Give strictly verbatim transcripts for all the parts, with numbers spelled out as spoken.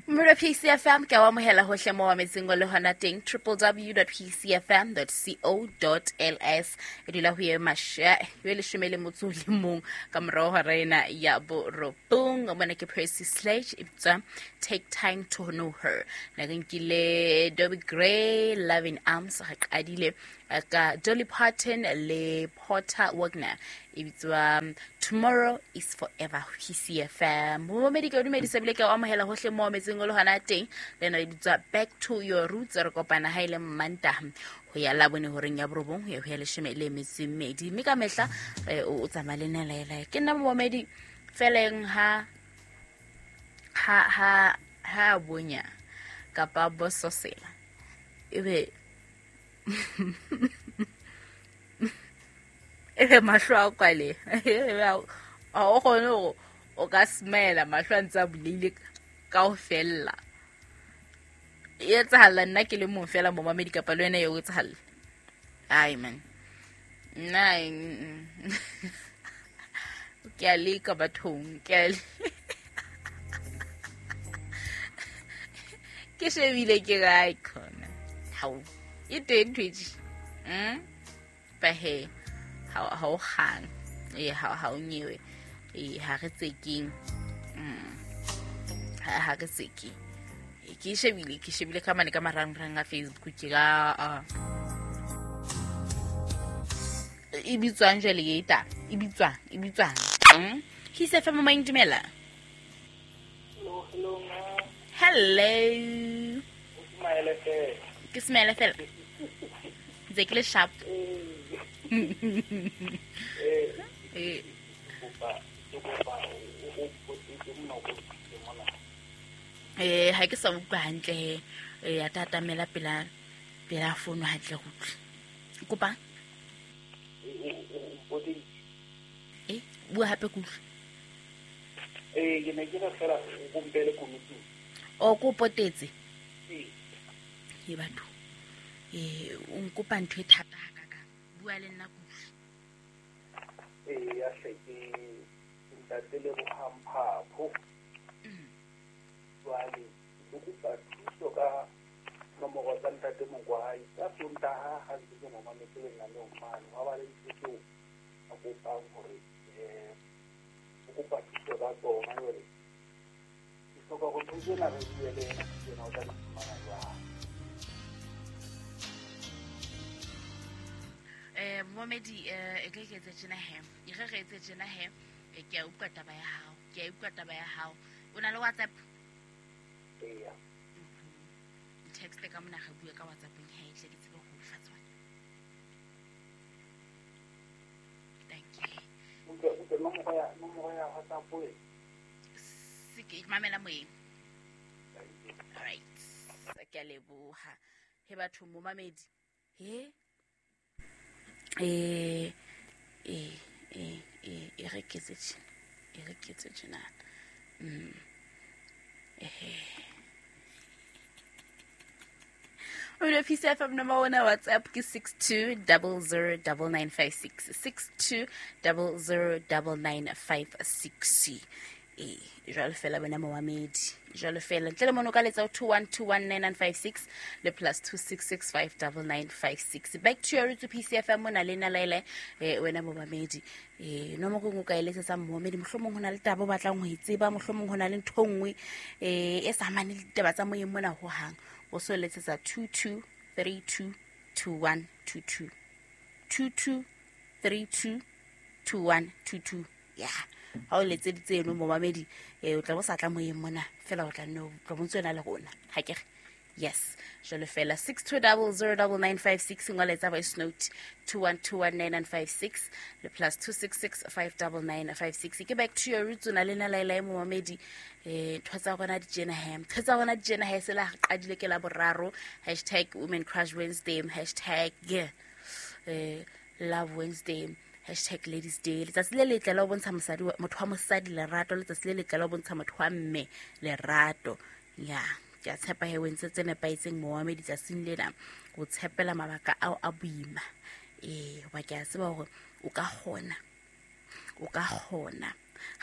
Mmelo P C F M ke wa amohela hohle mo wa metseng o le hona teng w w w dot p c f m dot co dot l s e dula ho ye masha yo leshome le motso le mong ka morao hora ena ya borobong. Mona ke Percy Sledge e bitswa Take Time to Know Her. Na re nkile Dobie Gray Loving Arms, re qadile ka Dolly Parton le Porter Wagner e bitswa Tomorrow is Forever. P C F M momedi ke o dumedisa bile ke o amohela hohle mo metseng o le hona teng. Le na le bitswa Back to Your Roots. Re kopana ha ile Mantaha ho ya labone horeng ya borobong ho ya ho ya leshome le metso e mmedi, mme ka mehla o tsamaya le nna laela. Ke nna momedi feleng ha ha ha ha bonya kapa bososela ebe ebe mahlo a kwale a o kgone hore o ka smela mahlo a ntse a buleile kaofela. E etsahala nna ke le mong fela momamedi kapa le wena eo etsahala? Ai man, nna ke a leka bathong, ke a ke shebile ke ra khona hao e teng Twitch mm ba he ha ha o kgang e ha ha o nyewe e ha re tsekeng mm ha re tseke. Ke shebile ke shebile ka mane ka marangrang a Facebook ke ga e bitswang jwale e ta e bitswang e bitswang mm he se fa mama intumela. Hello hello hello ke smile fela ntse ke le sharp. Eh eh ha ke sa utlwa hantle eh ya tatamela pela pela fono hantle go utlwe kopa eh bua hape ku eh ke ne ke re fela o mpele komiti o ko potetse eh e batho eh o nkopa ntho e thata ha ka bua le nna ku eh ya hle ke ntate le bohamphapo jwale ke kopa thuso ka nomoro tsa ntate Mokwai ka Sontaha ha ntse ke mo mametse lenaneong mane wa ba le ntho tseo a kopang hore um o kopa thuso ka tsona. Jwale ke hloka hore ntho tsena re bue le ena tsena o tla di fumana jwang? Eh momedi eh e ke ke etse tjena he e re re etse tjena he ke a utlwa taba ya hao ke a utlwa taba ya hao. O na le WhatsApp? Eya. Text ka mona re bue ka WhatsApp-eng he tle ke tsebe ho fa tsona. Thank you. Utlwa utlwa nomoro ya nomoro ya WhatsApp e se ke mamela moyeng. Right. Ke a leboha. He batho momamedi. He eh eh eh eh e re ke tse e re ke tse tjena. Mm. Eh O P C F M number one WhatsApp ke six two zero zero nine nine five six six two zero zero nine nine five six. Eh jwale fela bana momamedi jwale fela ntle le mono ka letsa two one two one nine nine five six le plus two six six five nine nine five six. Back to your to P C F M mona le na laele eh wena momamedi eh nomoro go ka eletsa momamedi mohlomong hona le taba o batlang ho itseba mohlomong hona le ntho nngwe eh e sa mane le ditaba tsa moyeng mona ho hang o so letsetsa two two three two two one two two two two three two two one two two. Yeah, ha o letseditse eno momamedi eh o tla bo sa tla moyeng mona fela o tla no tla bontse yona le rona ha ke re yes jwale fela six two zero zero nine nine five six ngoletsa voice note two one two one nine nine five six le plus two six six five nine nine five six. Ke back to your roots na le na laela momamedi eh ntho tsa rona di tjena he ntho tsa rona di tjena he se la qadile ke la boraro hashtag women crush Wednesday hashtag yeah eh love Wednesday hashtag ladies day. Letsatsi le letle la ho bontsha mosadi motho wa mosadi lerato, letsatsi le letle la ho bontsha motho wa mme lerato. Ya ke a tshepa he o entse tse nepahetseng momamedi tsatsing lena o tshepela mabaka ao a boima eh hoba ke a tseba hore o ka kgona o ka kgona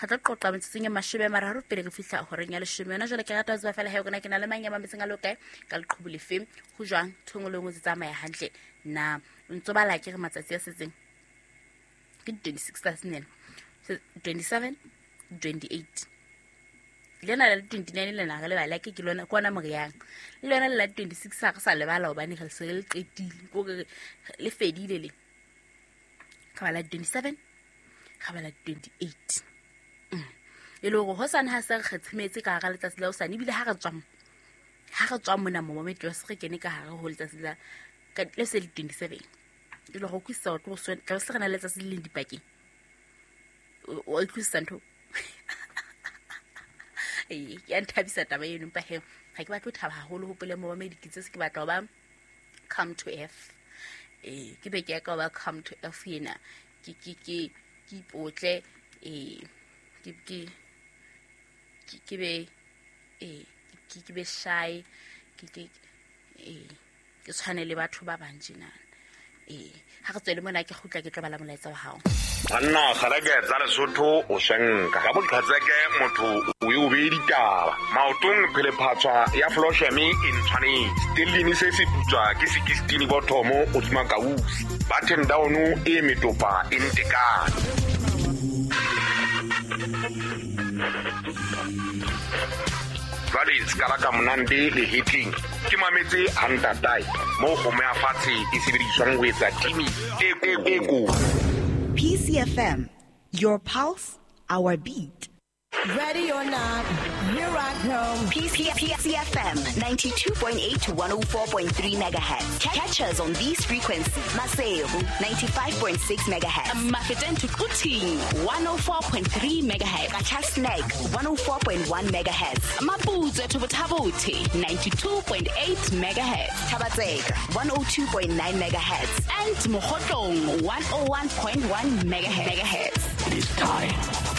Ga tlo qoqa metsotsong e mashome a mararo pele re fihla horeng ya leshome. Yona jwale ke rata ho tseba fela he rona ke na le mang ya mametseng a le kae ka leqhubu lefe, ho jwang ntho e nngwe le nngwe tse tsamaya hantle na. O ntso bala ke re matsatsi a setseng ke twenty-six tsatsing lena, twenty-seven, twenty-eight lena la twenty-nine lena re lebala ke ke lona ke ona moriang le lona le la twenty-six ha re sa lebala hobane re se re le qetile ko re le fedile le ka bala twenty-seven ka bala twenty-eight. E le hore hosane ha se re kgetshemetse ka hara letsatsi la hosane, ebile ha re tswa ha re tswa mona mo mometro se re kene ka hare ho letsatsi la le se le twenty-seven, e le hore utlwisisa hore tlo tla se re na le letsatsi le leng dipakeng. O utlwisisa ntho ee ke a nthabisa taba eno, empa he ha ke batle ho thaba haholo. Hopole momamedi ke tse se ke batla ho ba come to F. Ee ke be ke ya ka ho ba come to F ena ke ke ke ke ipotle ee ke ke ke be ee ke ke be shy ke ke ee ke tshwane le batho ba bang tjena. Ee ha re tswele mona ke kgutla ke tlo bala molaetsa wa hao. Banna kgareke tsa Lesotho o swenka ka boqhetseke motho o e o beye ditaba maotong phelephatswa ya flosheme e ntshwanetse stellini se se putswa ke sixteen bothomo o tsuma kausi button down e metopa e ntekane. Jwale se ka monande le hitling ke mametse hantatai mo kgomo ya fatshe e sebediswang ho etsa timi e e ko. P C F M, your pulse, our beat. Ready or not, here I come. P C F M ninety-two point eight to one oh four point three megahertz. Catch us on these frequencies. Maseru ninety-five point six megahertz. Mafeteng to Quthing one oh four point three megahertz. Qacha's Nek one oh four point one megahertz. Maputsoe to Botha-Bothe ninety-two point eight megahertz. Thaba-Tseka one oh two point nine megahertz. And Mokhotlong one oh one point one megahertz. It is time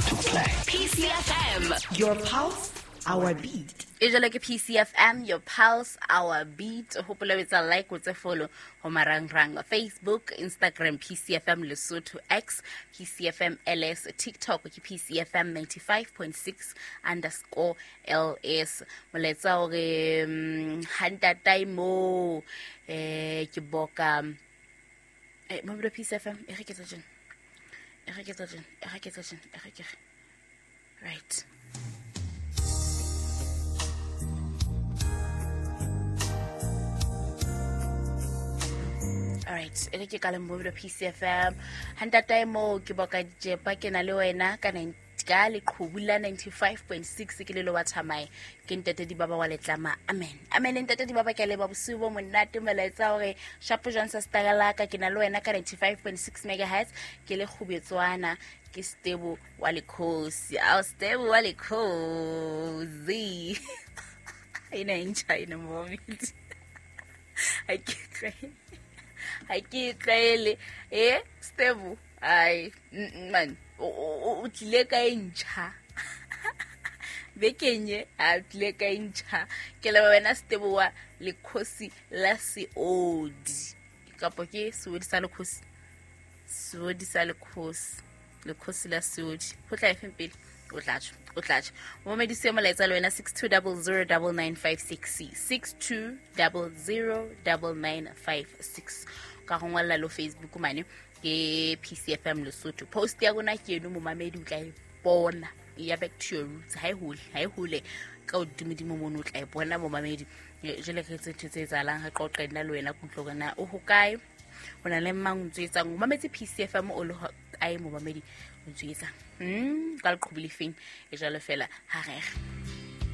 to play. P C F M, your pulse, our beat. E jalo ke P C F M, your pulse, our beat. Hopola o etsa like, o tse follow ho marangrang Facebook, Instagram P C F M Lesotho, X P C F M L S, TikTok ke P C F M ninety-five point six underscore L S. Molaetsa hore ha ntatae mo eh ke boka eh mo P C F M e re ke tsa tjena e re ke tsa tjena e re ke tsa tjena e re ke right. All right, e re ke ka le mobile P C F M. Ha ntatae mo ke boka dijepa ke na le wena ka ka leqhubu la ninety-five point six ke le lo wa thamae ke ntate di baba wa letlama. Amen. Amen ntate di baba ke le ba bosiu bo monate molaetsa hore shapo jwang sa stagala ka ke na le wena ka ninety-five point six megahertz ke le kgubetswana ke Stebo wa lekhosi. Ao Stebo wa lekhosi. Ina incha ina moment. I ke tlwaele. Ha ke tlwaele eh Stebo ai man o tlile ka e ntjha bekenye a tlile ka e ntjha ke le wena Stebo wa lekhosi la seodi kapo ke seodi sa lekhosi seodi sa lekhosi lekhosi la seodi ho tla efeng pele o tla tjho o tla tjho momedisi molaetsa le wena six two zero zero nine nine five six six two zero zero nine nine five six ka go ngwalla lo Facebook mane ke P C F M Lesotho. Post ya rona ke eno momamedi o tla e bona ya back to your roots ha e hole ha e hole ka hodimodimo mono o tla e bona momamedi. Jwale re tse ntho tse etsahalang re qoqe nna le wena kutlo hore na o hokae o na le mang o ntso etsang o mametse P C F M o le kae momamedi o ntso etsang mm ka leqhubu lefeng e jwalo fela ha re re.